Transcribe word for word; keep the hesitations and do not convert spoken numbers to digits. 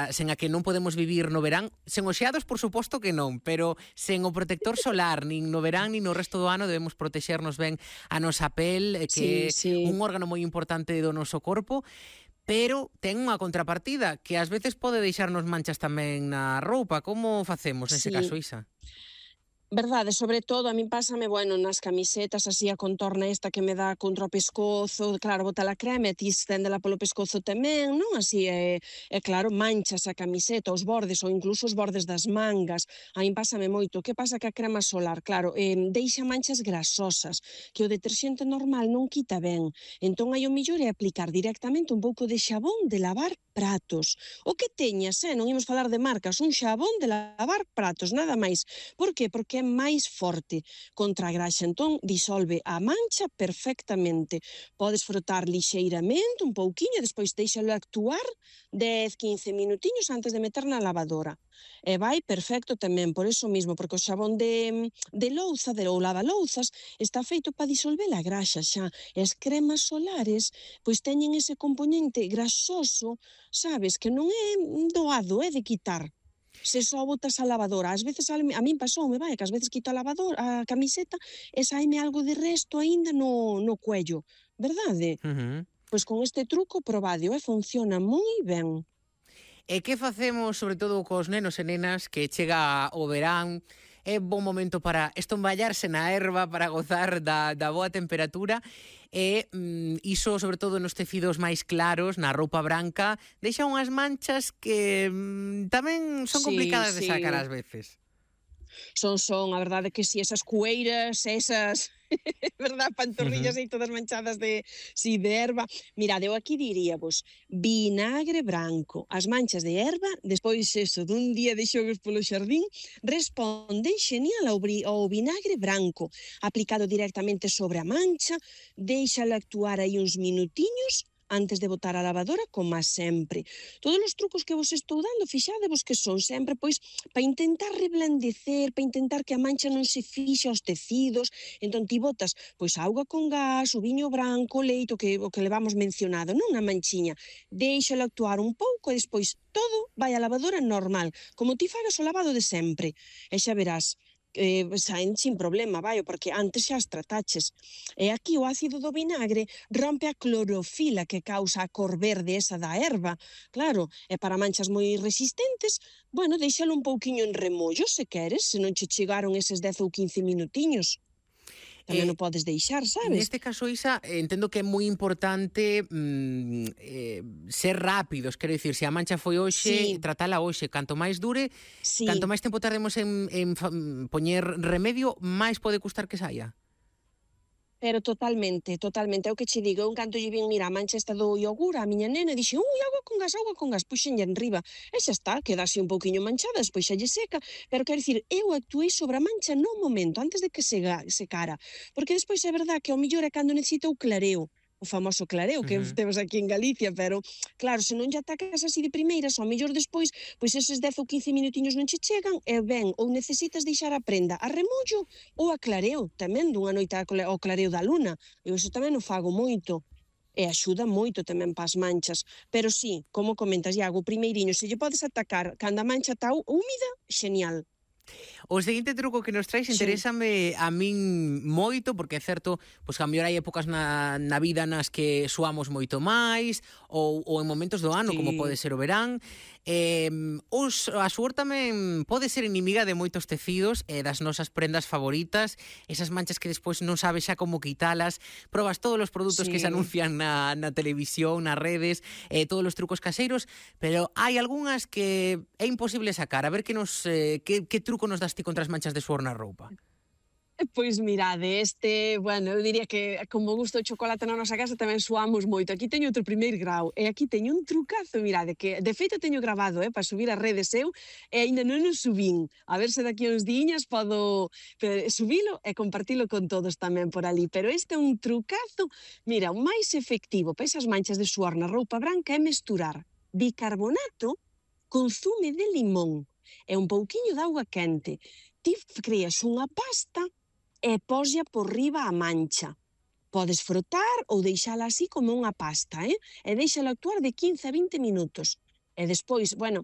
a, sen a que non podemos vivir no verán. Sen os xeados, por suposto que non, pero sen o protector solar, nin no verán, nin no resto do ano, debemos protexernos ben a nosa pel, que é Sí, sí. un órgano moi importante do noso corpo, pero ten unha contrapartida, que ás veces pode deixarnos manchas tamén na roupa. Como facemos nese Sí. caso, Isa? Verdade, sobre todo, a min pásame, bueno, nas camisetas, así a contorna esta que me dá contra o pescozo, claro, bota a crema e ti esténdela polo pescozo tamén, non? Así, é, é claro, manchas a camiseta, os bordes, ou incluso os bordes das mangas, a min pásame moito. Que pasa que a crema solar, claro, eh, deixa manchas grasosas, que o deterxente normal non quita ben. Entón, hai o millor é aplicar directamente un pouco de xabón de lavar pratos. O que teñas, eh? Non imos falar de marcas, un xabón de lavar pratos, nada máis. Por que? Porque é máis forte contra a graxa, entón disolve a mancha perfectamente. Podes frotar lixeiramente, un pouquiño, despois deixalo actuar dez, quince minutiños antes de meter na lavadora. E vai perfecto tamén, por eso mismo, porque o xabón de, de louza, de ou lavalouzas, está feito para disolver a graxa xa. E as cremas solares, pois teñen ese componente grasoso, sabes, que non é doado, é de quitar. Se só botas a lavadora, ás veces a min pasoume, vai, que ás veces quito a lavadora, a camiseta e saime algo de resto aínda no, no cuello, verdade? Uh-huh. Pois con este truco probadio, e funciona moi ben. E que facemos, sobre todo, cos nenos e nenas que chega o verán? É bon momento para estomballarse na erva, para gozar da, da boa temperatura, e mm, iso, sobre todo, nos tecidos máis claros, na roupa branca, deixa unhas manchas que mm, tamén son Sí, complicadas de sí. sacar ás veces. Son, son, a verdade que si, esas cueiras, esas, verdad, pantorrillas aí todas manchadas de, si, de erva. Mirade, eu aquí diría vos, vinagre branco. As manchas de erva, despois eso, dun día de xogos polo xardín, responden xenial ao, ao vinagre branco, aplicado directamente sobre a mancha, deixalo actuar aí uns minutiños, antes de botar a lavadora, como sempre. Todos os trucos que vos estou dando, fixadevos que son sempre, pois, para intentar reblandecer, para intentar que a mancha non se fixe aos tecidos. Entón, ti botas, pois, a auga con gas, o viño branco, o leite, o que, o que levamos mencionado, non na manchiña. Deixalo actuar un pouco e despois todo vai á lavadora normal, como ti fagas o lavado de sempre. E xa verás, Eh, saen sin problema, vai, porque antes xa as trataches. E aquí o ácido do vinagre rompe a clorofila que causa a cor verde esa da erva. Claro, e para manchas moi resistentes, bueno, deixalo un pouquiño en remollo, se queres, se non che chegaron eses dez ou quince minutiños. Tamén Eh, o podes deixar, sabes? Neste caso, Isa, entendo que é moi importante mm, eh, ser rápidos, quero dicir, se a mancha foi hoxe, Sí. tratala hoxe. Canto máis dure, Sí. canto máis tempo tardemos en, en fa- poñer remedio, máis pode custar que saia. Pero totalmente, totalmente. É o que che digo, eu en canto lle vin, mira, a mancha esta do yogur, a miña nena, dixe, ui, auga con gas, auga con gas, puxenlle enriba. E xa está, quedase un pouquiño manchada, despois xa lle seca. Pero quero dicir, eu actuei sobre a mancha no momento, antes de que se secara. Porque despois é verdad que ao millor é cando necesita o clareo, o famoso clareo que Uh-huh. temos aquí en Galicia, pero claro, se non lle atacas así de primeiras, ao mellor despois, pois eses dez ou quince minutiños non che chegan, e ben, ou necesitas deixar a prenda a remollo ou a clareo, tamén dunha noite ao clareo da luna. Eu iso tamén o fago moito. E axuda moito tamén pas manchas. Pero sí, como comentas, Iago, o primeiriño, se lle podes atacar cando a mancha está húmida, xenial. O seguinte truco que nos traes interésame a min moito, porque é certo, pois a mellor hai épocas na, na vida nas que suamos moito máis, ou, ou en momentos do ano, Sí. como pode ser o verán. Eh, os, a suor tamén pode ser inimiga de moitos tecidos e das nosas prendas favoritas, esas manchas que despois non sabes xa como quitalas, probas todos os produtos Sí. que se anuncian na, na televisión, nas redes, eh, todos os trucos caseiros, pero hai algunhas que é imposible sacar. A ver que nos eh, que, que truco nos das ti contra as manchas de suor na roupa? Pois mirade, este, bueno, eu diría que como gusta o chocolate na nosa casa tamén suamos moito. Aquí teño outro primeiro grau e aquí teño un trucazo, mirade, que de feito teño grabado, eh, para subir as redes eu e aínda non o subín. A ver se daqui uns diñas podo subilo e compartilo con todos tamén por ali. Pero este é un trucazo, mira, o máis efectivo para esas manchas de suor na roupa branca é mesturar bicarbonato con zume de limón e un pouquiño de auga quente. Ti creas unha pasta e poslla por riba a mancha. Podes frotar ou deixala así como unha pasta, eh? E deixala actuar de quince a vinte minutos. E despois, bueno,